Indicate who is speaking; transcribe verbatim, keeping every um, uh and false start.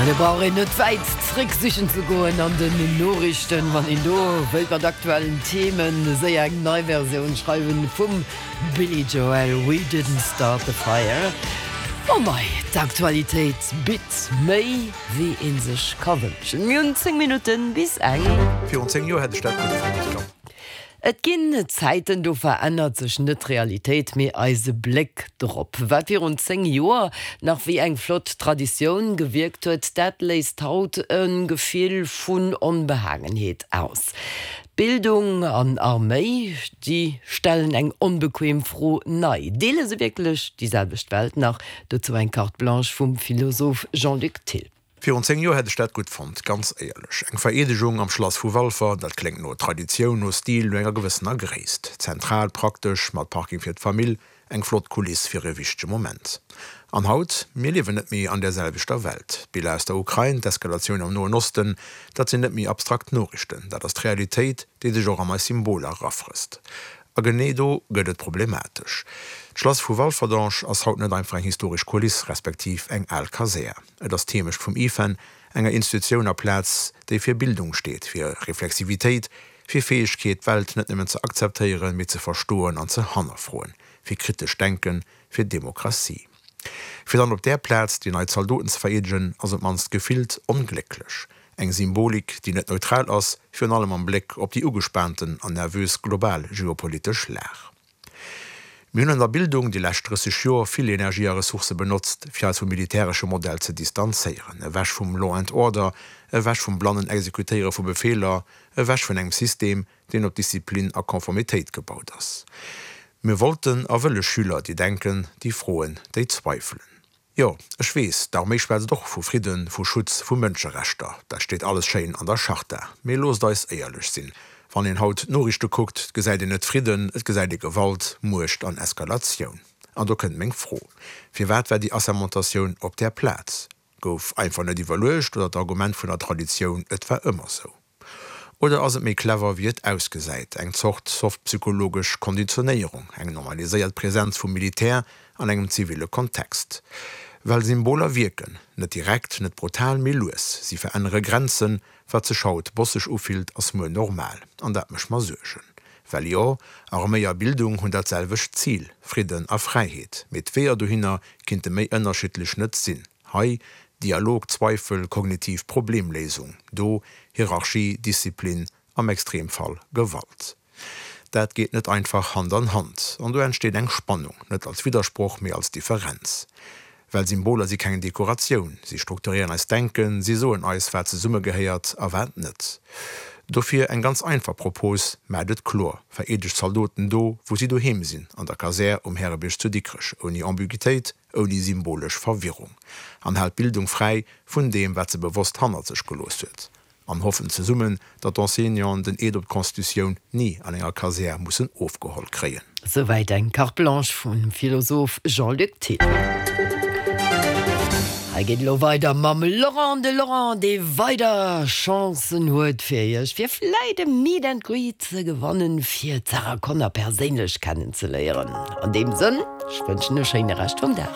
Speaker 1: Ja, do brauch een net wäit zréck sichen ze goen an den Noriichten, wann een do wëllt mat aktuellen Themen séier eng nei Versioun schreiwen vum Billy Joel We Didn't Start the Fire. Oh mei, d'Aktualitéit bitt méi wéi ee sech ka wënschen. Mir hunn zéng Minutten bis eng.
Speaker 2: Virun zéng Joer hätt ech dat gutt fonnt.
Speaker 1: Et ginn Zäiten, do verännert sech net d'Realitéit, mee eise Bléck drop. Wat virun zéng Joer nach wéi eng flott Traditioun gewierkt huet, dat léist haut e Gefill vun Onbehagenheet aus. Bildung an Arméi, déi stellen eng onbequem Fro nei. Deele se wierklech déi selwecht Welt nach? Dozou eng Carte Blanche vum Philosoph Jean-Luc Thill.
Speaker 2: Virun zéng Joer hätt ech dat gutt fonnt, ganz éierlech. Eng Vereedegung am Schlass vu Walfer, dat kléngt no Traditioun, no Stil, no enger gewëssener Gréisst. Zentral, praktesch, mat Parking fir d'Famill, eng flott Kuliss fir e wichtege Moment. An haut, mir liewen net méi an der selwechter Welt. D'Biller aus der Ukrain, d'Eskalatioun am Noen Osten, dat sinn net méi abstrakt Noriichten. Dat ass d'Realitéit, déi sech och an eis Symboler erafrësst. A genee do gëtt et problematesch. D'Schlass vu Walferdange ass haut net einfach eng historesch Kuliss, respektiv eng al Kasär. Et ass d'Heemecht vum IFEN, enger Institutioun a Plaz, déi fir Bildung steet, fir Reflexivitéit, fir Fäegkeet, d'Welt net nëmmen ze akzeptéieren, mee ze verstoen an ze hannerfroen, fir kritescht Denken, fir Demokratie. Fir dann op där Plaz déi nei Zaldoten ze vereedegen, ass op d'mannst gefillt onglécklech. Eng Symbolik, déi net neutral ass, virun allem am Bléck op déi ugespaanten an nervös global geopolitesch Lag. Mir hunn an der Bildung déi lescht drësseg Joer vill Energie a Ressourcë benotzt, fir eis vum militäresche Modell ze distanzéieren, ewech vum Law and Order, ewech vum blannen Exekutéiere vu Befeeler, ewech vun engem System, deen op Disziplin a Konformitéit gebaut ass. Mir wollten a wëlle Schüler, déi denken, déi froen, déi zweifelen. Jo, ech weess, d'Arméi schwätzt och vu Fridden, vu Schutz, vu Mënscherechter. Dat steet alles schéin an der Charta. Mee loosst eis éierlech sinn, Wann een haut d'Noriichte kuckt, gesäit een net Fridden, et gesäit ee Gewalt, Muecht an Eskalatioun. An do kënnt meng Fro, Firwat war déi Assermentatioun op där Plaz? Gouf einfach net iwwerluecht oder d'Argument vun der Traditioun, et war ëmmer sou? Oder ass et méi clever, wéi et ausgesäit, eng Zort soft psychologesch Konditionéierung, eng normaliséiert Presenz vum Militär an engem ziville Kontext? Well Symboler wierken, net direkt, net brutal, mee lues. Si verännere Grenzen, wat sech haut bosseg ufillt, ass muer normal. An dat mécht mer Suergen. Well jo, Arméi a Bildung hunn dat selwecht Zil, Fridden a Fräiheet. Mee d'Weeër dohinner kinnte méi ënnerschiddlech net sinn. Hei Dialog, Zweifel, kognitiv Problemléisung. Do Hierarchie, Disziplin, am Extremfall Gewalt. Dat geet net einfach Hand an Hand. An do entsteet eng Spannung, net als Widdersproch, mee als Differenz. Well Symboler si keng Dekoratioun, si strukturéieren eist Denken, si soen eis, wat zesummegehéiert a wat net. Dofir eng ganz einfach Propos, Maacht et kloer, Vereedegt d'Zaldoten do, wou si doheem sinn, an der Kasär um Härebierg zu Dikrech, ouni Ambiguitéit, ouni symbolesch Verwirrung. An haalt d'Bildung fräi vun deem, wat se bewosst hannert sech gelooss huet. An hoffen zesummen, datt d'Enseignanten den Eed op d'Constitutioun ni an enger Kasär mussen ofgeholl kréien.
Speaker 1: Souwäit eng Carte Blanche vum Philosoph Jean-Luc Thill. Hei geet elo weider mam Laurent, de Laurent, dee weider Chancen huet fir iech, fir vläit e Meet and Greet ze gewannen, fir d'Sarah Connor perséinlech kennenzeléieren. An deem Sënn, ech wënschen e schéine Rescht vum Dag.